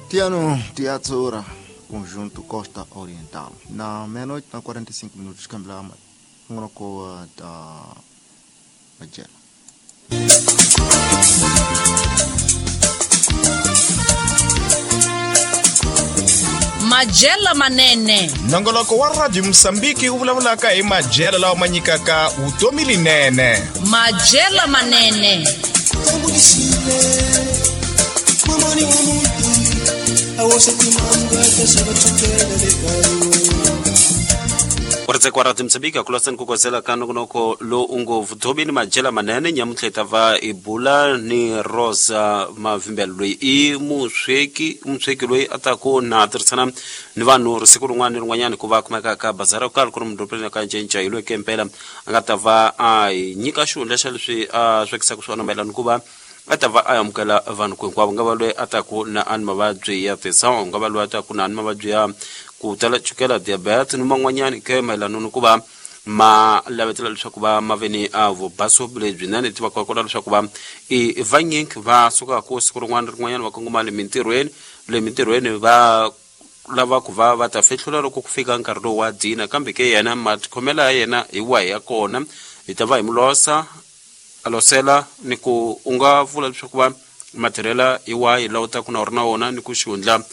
Tiano Teatsura, conjunto Costa Oriental. Na meia-noite, na 45 minutos, cambiamos uma coa da Magela. Majela Manene. Nongoloko wa Radio Mosambiki wu vulavulaka hi majela lawa ma nyikaka vutomi linene. Majela Manene. Uretse kwa Radio Mosambiki akulasani kukosela ka nongonoko lo ungo vutomi ni majela manene nyamuntlha hi ta va hi bula ni Rosa Mavimbela loyi i musweki loyi a taku na tirhisana ni vanhu siku rin'wana ni rin'wanyana ku va kumeka ka bazara yo karhi ku ri mudorobeni ka Ncinca hi loyi ke mpela a nga ta va a hi nyika xihundla xa leswi a swekisaka swona mayelana ku va a ta va a amukela vanhu ku hinkwavo nga va loyi a taku na a ni mavabyi ya tisawu nga va loyi a taku na ni mavabyi ya ku tala chukela diabetes ni man'wanyana ke mayelana ni ku va ma lavetela leswaku va ma ve ni a vubaso lebyinene ti va kota leswaku va i vanyingi va sukaka siku rin'wana rin'wanyana va kongoma le mintirhweni va lava ku va va ta fihlula loko ku fika nkarhi lowu wa dina kambe ke yena matikhomelo ya yena hi wahi ya kona hi ta va hi mulosa a losela ni ku u nga vula leswaku va matirhela hi wahi lawa u taku na u ri na wona ni ku xihundla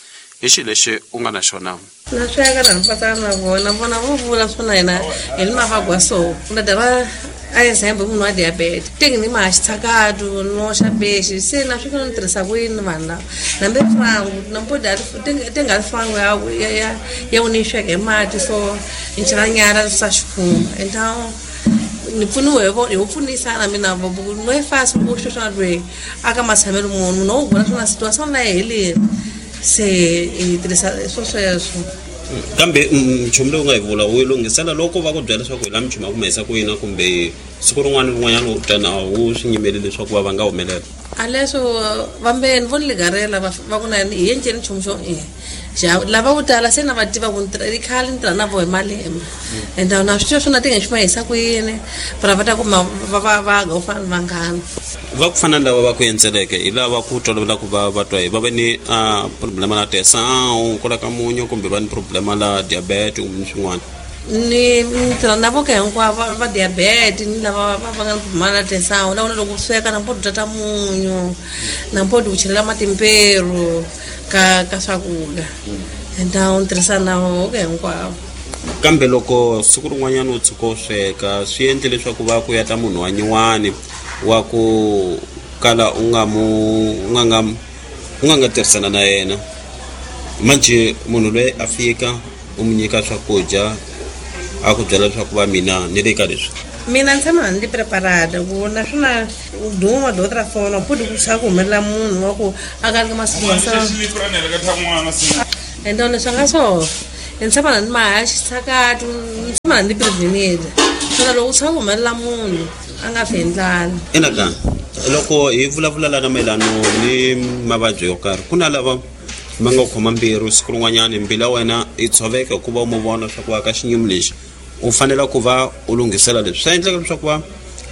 hi xilo lexi u nga na xona. Na sweka na mpatsana na vona vona vo vula swona yena hi ni mavagwa so na dava a example munhu wa diabetes tingi ni maxitshakatu no xa bexi se na swi fana ni tirhisa ku yini vanhu lava nambe frangu nampodi tinga frangu ya ya u ni sweka hi mati so ni chela nyala swa xikhumba então ni pfuniwe hi vo pfunisana mina vo no e fasi ku sweswi lweyi aka matshamelo munhu no vona swona situation na helini se hi tirhisa swo sweswo. Kambe nchumu lowu nga hi vula u yi lunghisela loko va ku byela leswaku hi la minchumu ya ku humesa ku yina kumbe siku rin'wana ni rin'wanyana u tana wu swi nyimeli leswaku va va nga humelela a leswo vambeni vo ni ligarela va ku na hi enceni nchumu xo lava vo tala se na va tiva ku i khale ni tirha na vo hi malembe and na swi swona ti nga xi ma hisa ku yini para va ta kuma va va va ga u fana ni vanghana va ku fana lava va ku endzeleke hi lava ku tolovela ku va va twa hi va ve ni problema la tesão ku la ka munyu kumbe va ni problema la diabetes kumbe swin'wana ni tirha na voka hinkwavo va diabetes ni lava va nga ni problema la tesão la loko sweka na mpodi tata munyu na mpodi ku chelela matimperu ka ka swakudya então ni tirhisa na voka hinkwavo. Kambe loko siku rin'wanyana u tshuka u sweka swi endle leswaku va ku ya ta munhu wa nyuwani wa ku kala u nga mu u nga nga tirhisana na yena manje munhu loyi a fika u mu nyika swakudya a ku byela leswaku va mina ni le ka leswi mina ni tshama ni preparada ku naswona duma de outra forma pode ku ku humelela munhu wa ku a ka ri masiku então leswi nga so ni tshama ni maha xitshakatu ni tshama ni prevenile swona loko u tshama ku humelela munhu a nga fi hi ndlala. Ina loko hi vulavula lana mayelano ni mavabyi yo karhi ku na lava ma nga khoma mbilu siku rin'wanyana mbilu ya wena yi tshoveka hikuva u mu vona leswaku ka xinyimi lexi u fanele ku va u lunghisela leswi swa endleka leswaku va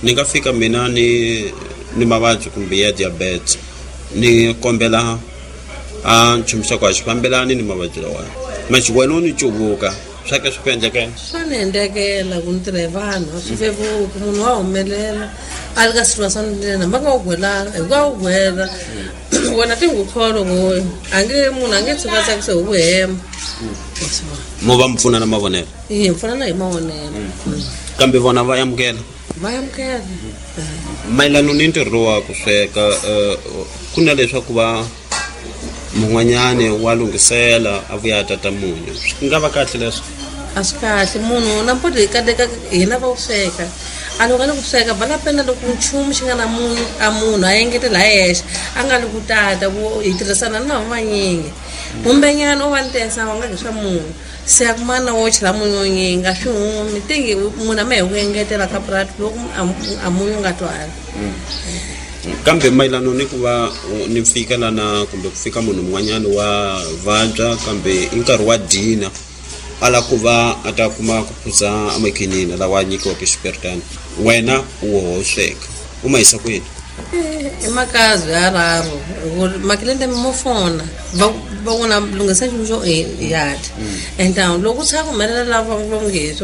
ni nga fika mina ni mavabyi kumbe ya diabetes ni kombela a nchumu xa ku a xi fambelani ni mavabyi lawa manje wena u ni cuvuka swa ke swi ku endlekela swa ni endlekela ku ni tirha hi vanhu a swi vevuki munhu wa humelela a ri ka situation lena va nga wu gwelanga hi ku a wu gwela wena tingukholo ku a nge munhu a nge tshuka tsakise hi ku hema mo va mi pfuna na mavonelo hi pfunana hi mavonelo kambe vona va amukela va amukela mayelana ni ntirho wa ku sweka ku na leswaku va mun'wanyani wa lunghisela a vuya a tata munyu swi nga va kahle leswo a swi kahle munhu na mpoti hi kateka hina va ku sweka a loko a ni ku sweka va la pena loko nchumu xi nga na munyu a munhu a engetela hi yexe a nga li ku tata ku hi tirhisana ni vanhu vanyingi kumbenyana u va ni tesa wa nga ki swa munhu se a kumana wo chela munyu wo nyingi a swi humi tingi munhu a ma hi ku engetela ka purati loko a munyu nga twali. Kambe mayelana ni ku va ni fika lana kumbe ku fika munhu un'wanyana wa vabya kambe i nkarhi wa dina a lava ku va a ta kuma ku phuza amakhinini lawa a nyikiwaka xiperitana wena u wo sweka u ma yisa kwini? I makazi ya raru makilente mo fona va vona lunghisa nchumu xo yati então loko ku tshika ku humelela lava va nge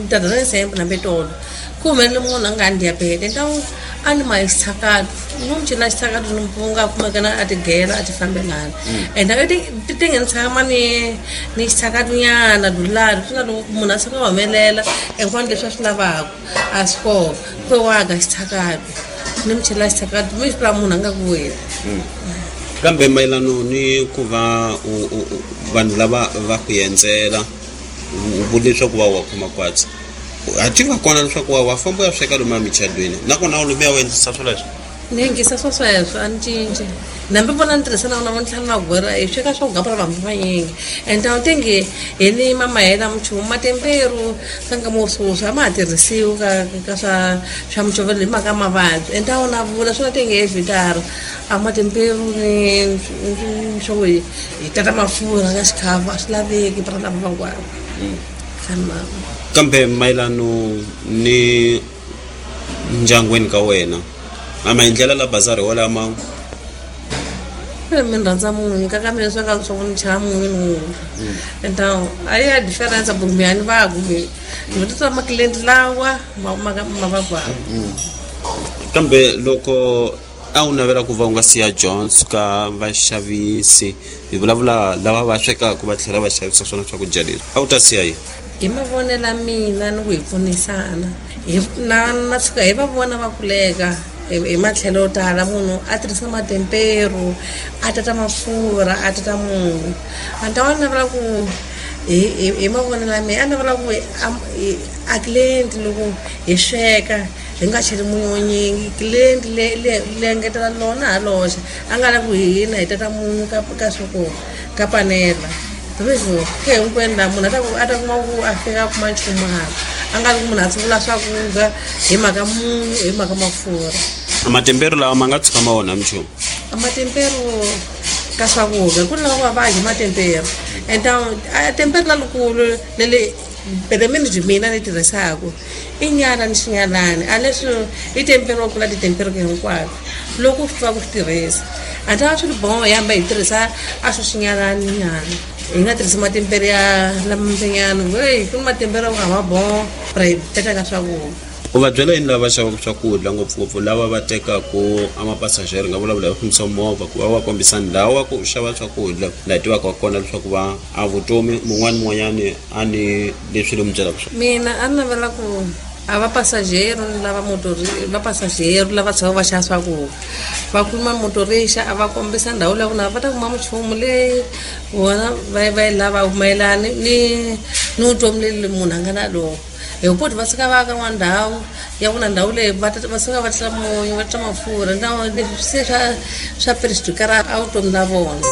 tata ra example na petolo ku humelele munhu a nga ni diabete então a ni ma xitshakati ni n'wi cela xitshakati ni nga kumekana a tigela a ti fambelana and ti nge ni tshama ni xitshakati nyana dulani swi na loko munhu a tshuka a humelela hinkwano leswi a swi lavaka a swi kona ku waga xitshakati ni mi chela xitshakati mi swi munhu a nga ku weli. Kambe mayelano ni ku va vanhu lava va ku endzela u vule leswaku va wa khoma kwatsi a tiva kona leswaku wa famba u ya sweka lomu emichadweni nakona u lomuya u endlisa swoleswo. Ni yingisa swo sweswo a ni cinci nambi vona ni tirhisa na vona tlhela na gwera hi sweka swo gapela vanhu vanyingi and a wu tingi hi ni mamahela minchumu matemperu ka nkama wo swoswi a ma ha tirhisiwi ka swa mucovelo hi mhaka mavabyi and a wu na vula swi na tingi hi vhitara a matemperu ni swo hi tata mafurha ka xikhavu a swi laveki para lava van'wana. Kambe mayelano ni ndyangwini ka wena a maendlela la bazari walama mi rhandza munyu ka mina swi nga swa ku ni chava munyu ni wula então a ya difference kumbe a ni va kumbe ni titwa makilenti lawa ma va gwava. Kambe loko a wu navela ku va u nga siya Jones ka vaxavisi hi vulavula lava va swekaka va tlhela va xavisa swona swakudya leswi a wu ta siya yini? Hi mavonelo mina ni ku hi pfunisana na tshuka hi va vona va kuleka hi matlhelo yo tala munhu a tirhisa matemperu a tata mafurha a tata munyu a ta wa navela ku hi mavonelo ya mina a navela ku a client loko hi sweka hi nga cheli munyu wo nyingi client le engetela lona ha loxa a nga lavi ku hina hi tata munyu ka swa ka panela leswo ke hinkwenu laha munhu a ta kuma ku a fika a kuma nchumu hala a nga ri ku munhu a tshungula swakudya hi mhaka munyu hi mhaka mafurha. Matemperu lawa ma nga tshuka ma onha minchumu? Matemperu ka swakudya ku ni lava va dyi matemperu and a temperu lalukulu leli pelemeni mina ni tirhisaka i nyala ni xinyalani a leswi i temperu wa kula titemperu hinkwato loko u swi tiva ku swi tirhisa a ta swi ri boho hi hamba hi tirhisa a swi xinyalani nyana hi nga tirhisi matemperu ya lamambenyana hey ku ni matemperu ya ku a ma boho ra hi teka ka swakudya. U va byela yini lava xavaka swakudya ngopfungopfu lava va tekaku a mapasajeri nga vulavula hi fambisa movha ku va va kombisa ndhawu ya ku xava swakudya laha tivaka kona leswaku va a vutomi mun'wana mun'wanyani a ni leswi le mi byelaka swona? Mina a ni navela ku a va pasajero lava motori va pasajero lava tshama va xava swakudya va kuma motorixa a va kombisa ndhawu leyi na va ta kuma minchumu leyi vona va yi lava mayelana ni vutomi leli munhu a nga na lona hi ku va suka va ka n'wana ndhawu ya ku na ndhawu leyi va suka va tla munyu va tla mafurha na leswi se swa perixikara a vutomi la vona.